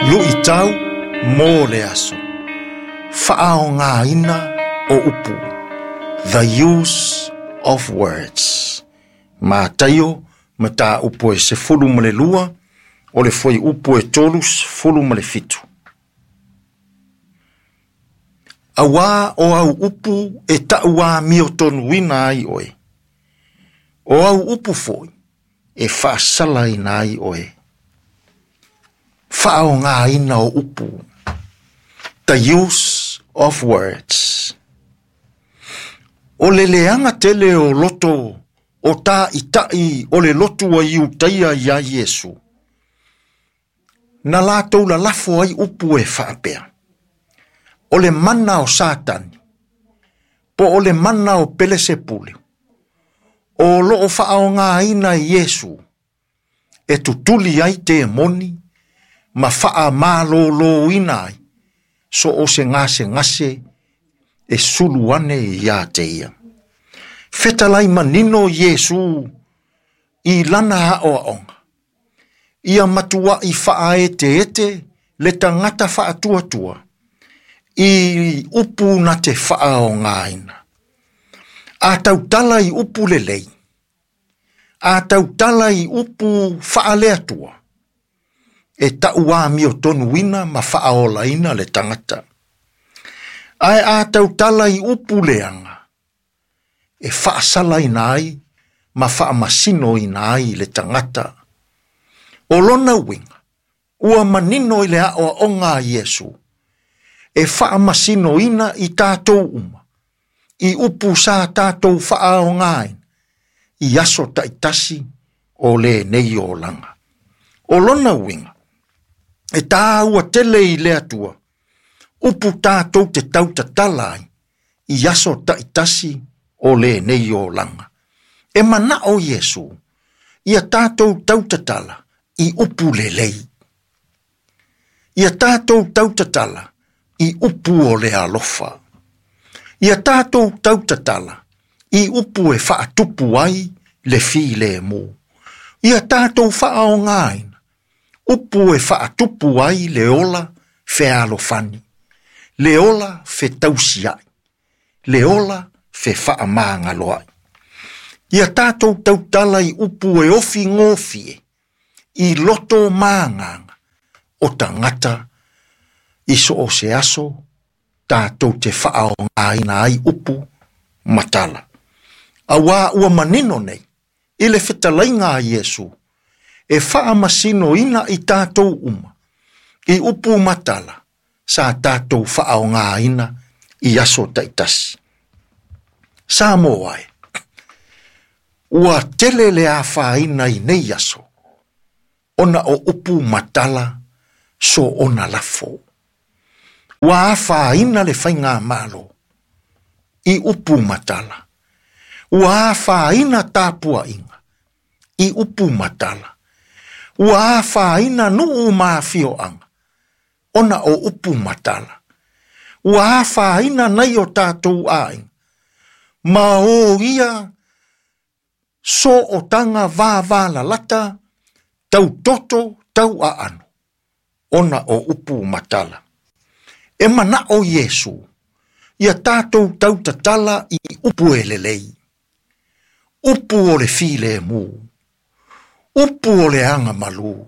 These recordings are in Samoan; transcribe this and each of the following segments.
Luʻitau mo le aso. Faaaogaina o upu. The use of words. Mataio, mataupu e 12, o le fuaiupu e 37. Auā o au upu e taʻu amiotonuina ai oe. O au upu foi e faasalaina ai oe. Faaaogaina o upu. The use of words. O le leaga tele o loto o tāʻitaʻi o le lotu a Iutaia iā Iesu, na latou lalafo ai upu e faapea, O le mana o Satani, po o le mana o Pelesepule, o loo faaogaina e Iesu, e tutuli ai temoni ma faamalōlōina ai so o se gasegase e sulu ane iā te ia. Fetalai manino Iesu i lana aʻoaʻoga, ia matuaʻi faaeteete le tagata faatuatua i upu na te faaogaina. A tautala i upu lelei, a tautala i upu faaleatua, e taʻu amiotonuina ma faaolaina le tagata. Ae a tautala i upu leaga, e faasalaina ai ma faamasinoina ai le tagata. O lona uiga, ua manino i le aʻoaʻoga a Iesu, e faamasinoina i tatou uma, i upu sa tatou faaaogaina i aso taʻitasi o lenei olaga. O lona uiga, e tāua tele i le Atua, upu tatou te tautatala ai i aso taʻitasi o lenei olaga. E manaʻo Iesu, ia tatou tautatala i upu lelei. Ia tatou tautatala i upu o le alofa. Ia tatou tautatala i upu e faatupu ai le filemu. Ia tatou faaogaina upu e faatupu ai le ola fealofani, le ola fetausiaʻi, le ola fefaamagaloaʻi. Ia tatou tautala i upu e ofi gofie i loto ma agaga o tagata i so o se aso tatou te faaogaina ai upu ma tala. Auā ua manino nei i le fetalaiga a Iesu e faamasinoina i tatou uma i upu ma tala sa tatou faaogaina i aso taʻitasi. Samoa e, ua tele le afaina i nei aso, ona o upu ma tala so ona lafo. Ua afaina le faigamalo i upu ma tala. Ua afaina tapuaʻiga i upu ma tala. Ua afaina nuu ma afioaga ona o upu ma tala. Ua afaina nai o tatou aiga ma o ia sootaga vavalalata tautoto tauaano ona o upu ma tala. E manaʻo Iesu ia tatou tautatala i upu e lelei, upu o le filemu, upu o le agamalu,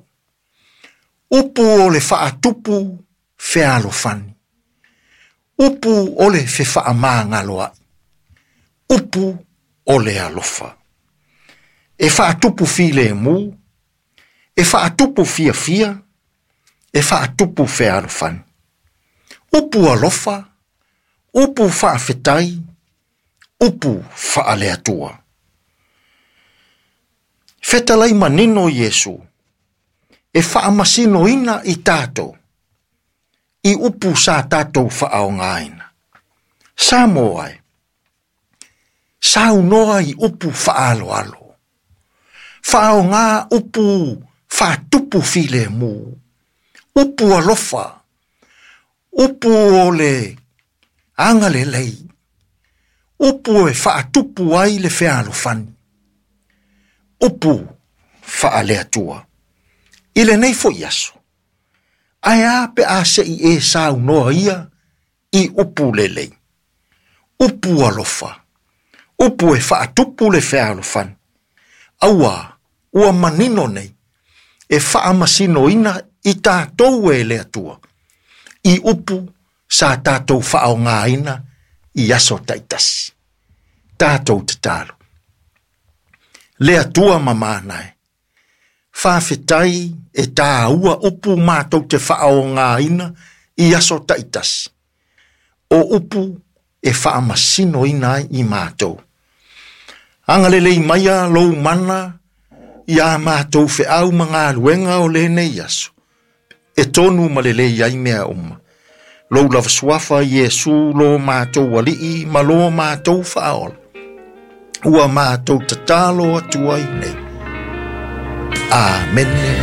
upu o le faatupu fealofani, upu o le fefaamagaloaʻi, upu o le alofa. E faatupu filemu, e faatupu fiafia, e faatupu fealofani. Upu alofa, upu faafetai, upu faaleatua. Fetalai manino Iesu, e faamasinoina i tatou, i upu sa tatou faaogaina. Samoa e, saunoa i upu faaaloalo, faaoga upu faatupu filemu, upu alofa, upu o le agalelei, upu e faatupu ai le fealofani, upu faaleatua. I lenei foi aso, Ae a pe a se i e saunoa ia i upu lelei, upu alofa, upu e faatupu le fealofani, auā ua manino nei e faamasinoina i tatou e le Atua i upu sa tatou faaaogaina i aso taitasi. Tatou tatalo. Le Atua ma mana e, faafetai e tāua upu matou te faaaogaina i aso taitasi, o upu e faamasinoina ai i matou. Agalelei maia lou mana iā matou feau ma galuega o lenei aso, e tonu ma lelei ai mea uma. Lou lava suafa Iesu lo matou Alii ma lo matou Faaola, ua matou tatalo atu ai nei. Amene.